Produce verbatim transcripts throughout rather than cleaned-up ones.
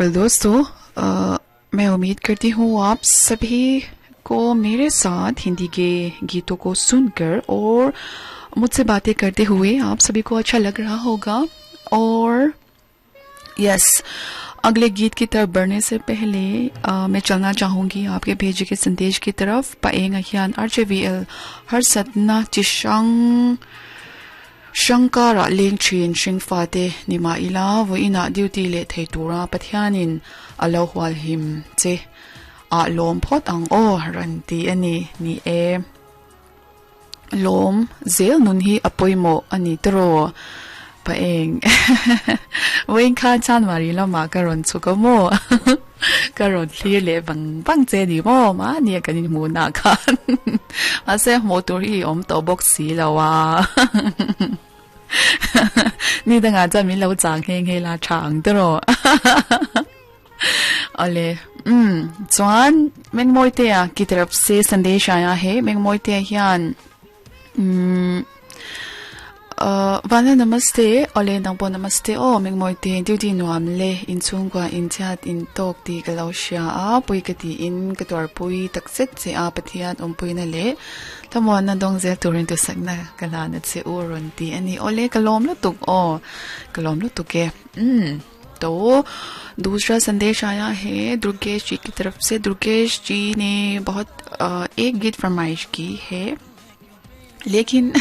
Well दोस्तों, अ, मैं उम्मीद करती हूँ आप सभी को मेरे साथ हिंदी के गीतों को सुनकर और मुझसे बातें करते हुए आप सभी को अच्छा लग रहा होगा। और यस, अगले गीत की तरफ बढ़ने से पहले आ, मैं चलना चाहूंगी आपके भेजे के संदेश की तरफ। पाएंगा हियान R J V L हर सतना चिशंग shankara leng thin hring fate nima ila voina duty le thei tura Pathianin alo hwal him che a lom phot ang o ran ti ani. Ni e, lom zel nun hi apoimo ani tro pa eng wen kha chan mari la ma ka ron chu ko mo ka ron thlir le bang bang che ni mo ma ni kan in mu na khan ma se mo tur hi om to box si lawa ni danga cha min lo chang heng he la chang tro ole um chuan mengmoi te की तरफ से संदेश आया है। मेंगमोइते hian um vana namaste ole nangpo namaste o mengmoite duty nuam le in chungwa in chat in tok ti ka lo sha a pui ka ti in ka tor pui tak set che a Pathian om pui na le tamon na dong zel turin tu sakna kala na che u ron ti ani. Ole kalom lu tuk o kalom lu tuk e um तो दूसरा संदेश आया है दुर्गेश जी की तरफ से। दुर्गेश जी ने बहुत एक गीत फरमाइश की है, लेकिन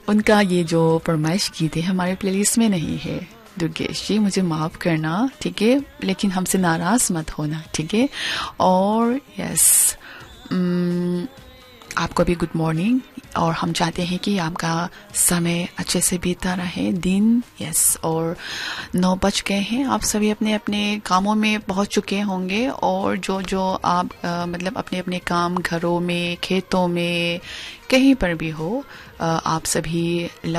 उनका ये जो फरमाइश गीत है हमारे प्लेलिस्ट में नहीं है। दुर्गेश जी, मुझे माफ़ करना, ठीक है, लेकिन हमसे नाराज़ मत होना, ठीक है। और यस, आपको भी गुड मॉर्निंग और हम चाहते हैं कि आपका समय अच्छे से बीतता रहे दिन। यस, और नौ बज गए हैं, आप सभी अपने अपने कामों में पहुंच चुके होंगे और जो जो आप आ, मतलब अपने अपने काम घरों में, खेतों में, कहीं पर भी हो, आ, आप सभी